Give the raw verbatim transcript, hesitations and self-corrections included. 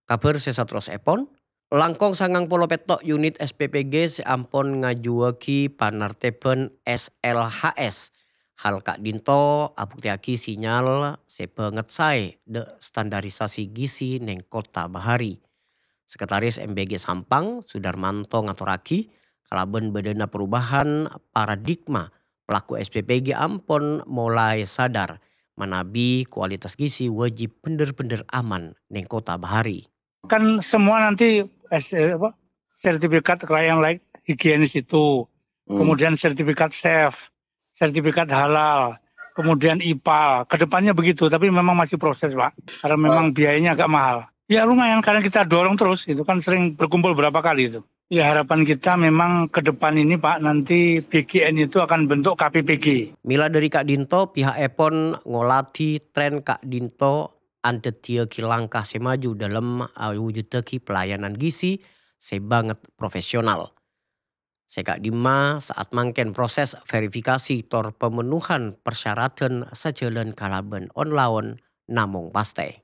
Kabhâr sè saterrossèpon, langkong sangang polo pètto' unit S P P G sè ampon ngajuwâghi panartèbhân S L H S. Hal ka'dinto abuktèyaghi sinyal sè bângèt saè dâ' standarisasi gizi neng Kota Bahari. Sekretaris M P G Sampang, Sudarmanto ngatorraghi, kalabân bâdâna perubahan paradigma, pelaku S P P G ampon molaè sadar manabi kualitas gizi wajib bhendher-bhendher aman neng Kota Bahari. Kan semua nanti, eh, apa, sertifikat kelayakan layak higienis itu, Hmm. kemudian sertifikat chef, sertifikat halal, kemudian ipal. Kedepannya begitu, tapi memang masih proses, Pak. Karena memang biayanya agak mahal. Ya lumayan, karena kita dorong terus, itu kan sering berkumpul berapa kali itu. Ya harapan kita memang ke depan ini, Pak, nanti B G N itu akan bentuk K P P G. Mèla dâri ka'dinto, piha'èpon ngoladhi tren ka'dinto andhâddhiyâghi langkah sè maju dâlem awujuddhâghi pelayanan gizi sè bângèt profesional. Sè ka'dimma saat mangkèn proses verifikasi tor pemenuhan persyaratan sajhâlân kalabân on-laon namong pastè.